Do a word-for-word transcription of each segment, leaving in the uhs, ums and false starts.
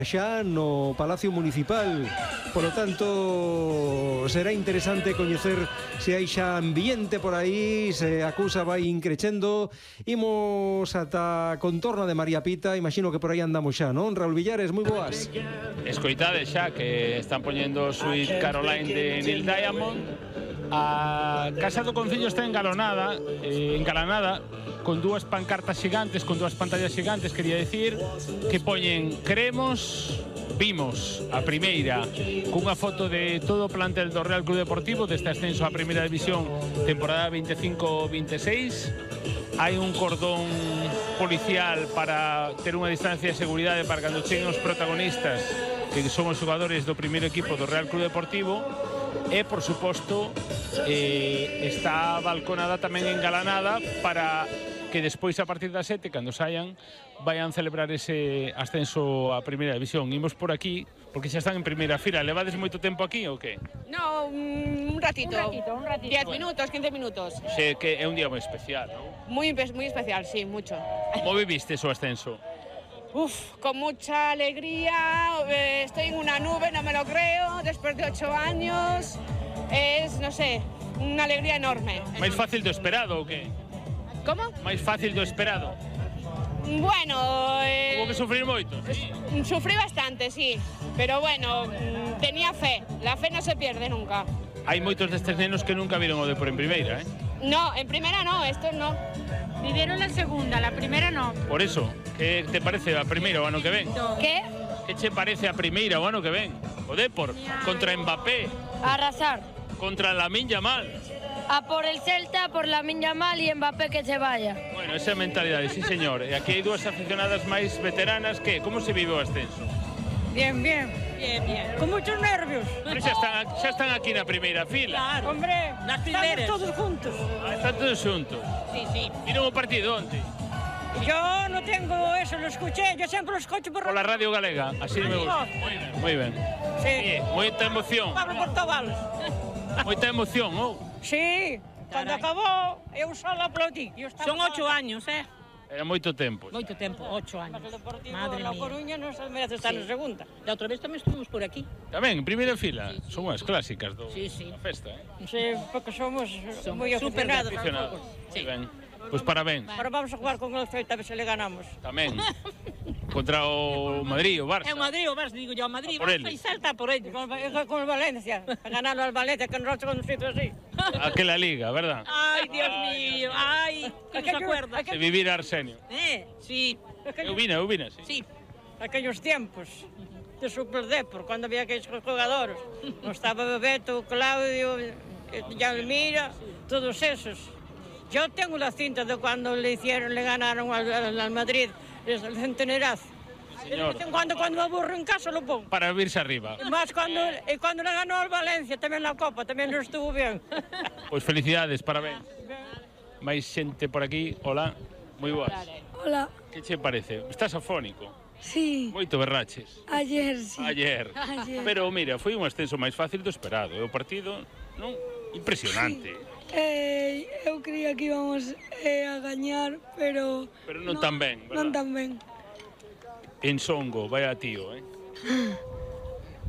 xa no Palacio Municipal. Polo tanto, será interesante coñecer se hai xa ambiente por aí, se a cousa vai increchendo. Imos ata a contorna de María Pita, imagino que por aí andamos xa, non? Raúl Villares, moi boas. Escoitade xa que están poñendo Sweet Caroline de Neil Diamond. A Casa do Concello está engalonada, eh, engalanada con dúas pancartas xigantes, con dúas pantallas xigantes, quería decir, que poñen "Creemos, vimos", a primeira, cunha foto de todo o plantel do Real Club Deportivo deste ascenso á Primeira División temporada veinticinco veintiséis. Hai un cordón policial para ter unha distancia de seguridade para cando cheguen os protagonistas, que son os xogadores do primeiro equipo do Real Club Deportivo. E, por suposto, eh, está balconada tamén engalanada para que despois, a partir das sete, cando saian, vayan celebrar ese ascenso á Primeira División. Imos por aquí, porque xa están en primeira fila. Levades moito tempo aquí ou que? No, un ratito. Un ratito, un ratito. diez minutos, quince minutos. Xe que é un día moi especial, non? Muy, muy especial, sí, mucho. Como viviste o ascenso? Uf, con mucha alegría, eh, estoy en una nube, no me lo creo, después de ocho años, es, no sé, una alegría enorme. Máis fácil do esperado ou que? ¿Cómo? Máis fácil do esperado? Bueno, eh, Hubo que sufrir moito, sí? Sufrí bastante, sí, pero bueno, tenía fe, la fe no se pierde nunca. Hai moitos destes nenos que nunca viron o Depor en primeira, eh? No, en primera no, estos no. Vivieron la segunda, la primera no. Por eso, que te parece a primeira o ano que ven? ¿Qué? Que che parece a primeira o ano que ven? O Depor, contra Mbappé, Arrasar. contra Lamine Yamal. A por el Celta, por Lamine Yamal y Mbappé que se vaya. Bueno, esa mentalidade, sí señor. E aquí hai dúas aficionadas máis veteranas que, como se vive o ascenso? Bien, bien. Bien, bien. Con muchos nervios. Pero xa están, xa están aquí na primeira fila. Claro. Hombre, Las estamos primeras. todos juntos. Ah, están todos xuntos. Sí, sí. Viron o partido onte? Yo no tengo eso, lo escuché, yo siempre lo escucho por Por la Radio Galega, así me gusta. Moi ben, moi ben. Sí, Sí. moita emoción, Pablo Portugal. moita emoción, oh. Sí, cuando acabó, eu solo aplaudí. Yo estaba Son ocho años, eh? Era moito tempo. Moito tempo, ocho años. Mas o Deportivo Madre La mía. Coruña non se merece estar Sí. en segunda. Da outra vez tamén estuvimos por aquí. Tamén, en primeira fila, son as clásicas do, Sí, sí. da festa, eh? Sí, porque somos Son moi súper aficionados. Aficionados. Sí. Ben. Pois parabéns. Ahora vamos a jugar con el Celta a ver se le ganamos. Tamén. Contra o Madrid, o Barça. É o Madrid, o Barça, digo yo, o Madrid, Por Barça eles. e Celta por ellos. Con, con el Valencia, a ganarlo al Valencia, que nosotros con un sitio así. Aquela liga, verdad? Ay, Dios mío, ay, que nos Aquello- acuerda. De vivir Arsenio. Eh, sí, Eu vine, eu vine, sí. sí. Aquellos tiempos de Super Depor, cuando había aquellos jugadores. No estaba Bebeto, Claudio, Yalmira, todos esos. Yo tengo la cinta de cuando le hicieron, le ganaron al, al, al Madrid, el centenerazo. Señor. De vez en cuando, cuando me aburro en casa lo pongo. Para virse arriba. Más cuando, y cuando le ganó al Valencia, también la Copa, también lo estuvo bien. Pois felicidades, parabéns. Máis xente por aquí, hola, moi boas. Hola. Que che parece? Estás afónico, Sí, moito berraches. ayer sí. Ayer. Ayer. Pero mira, foi un ascenso máis fácil do esperado. E o partido, non? Impresionante. Eh, eu creía que íbamos eh, a gañar, pero... Pero non tan ben, verdad? Non tan ben. En Songo, vaya tío, eh?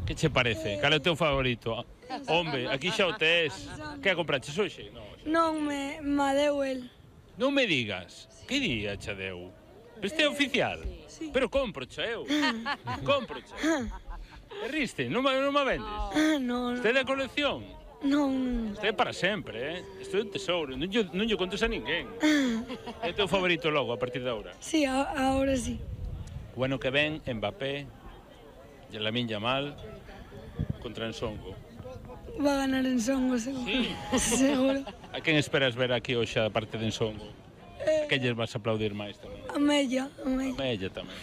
Que che parece? Cal é o teu favorito? Hombre, aquí xa o tes. Que a compraches hoxe? No, xa. Non me, me deu el. Non me digas. Que día xa deu? Este é oficial? Sí. Pero compro xa eu. Compro xa. E riste, non me, non me vendes? Ah, non, Este é da colección? non. Este é para sempre, eh? Isto é un tesouro. Non lle, non lle contes a ninguén. É o teu favorito logo a partir de agora? Sí, a, ahora sí. O ano que ven, Mbappé, e Lamine Yamal contra Ensongo. Va a ganar en Songo, seguro. Sí. Seguro. A quen esperas ver aquí hoxe a parte de Ensongo? A que lles vas a aplaudir máis tamén? A Mella, a A Mella. Mella tamén.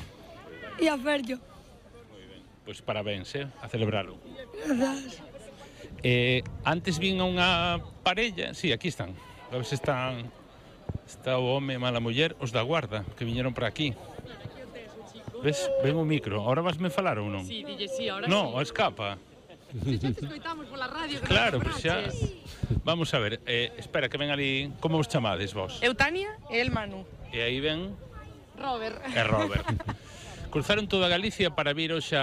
E a Ferjo. Pois parabéns, eh? A celebralo. Grazas. Eh, antes vin a unha parella, sí, aquí están. A ver se están, está o home e mala muller, os da guarda, que viñeron para aquí. Ves, ven o micro, ahora vasme falar ou non? Sí, dille sí, ahora No, sí. escapa. Si xa te escoitamos pola radio que Claro, nos pois xa. cobraches. Vamos a ver, eh, espera que ven ali, como vos chamades vos? Eu Tania e el Manu. E aí ven Robert. e Robert. cruzaron toda Galicia para vir hoxe a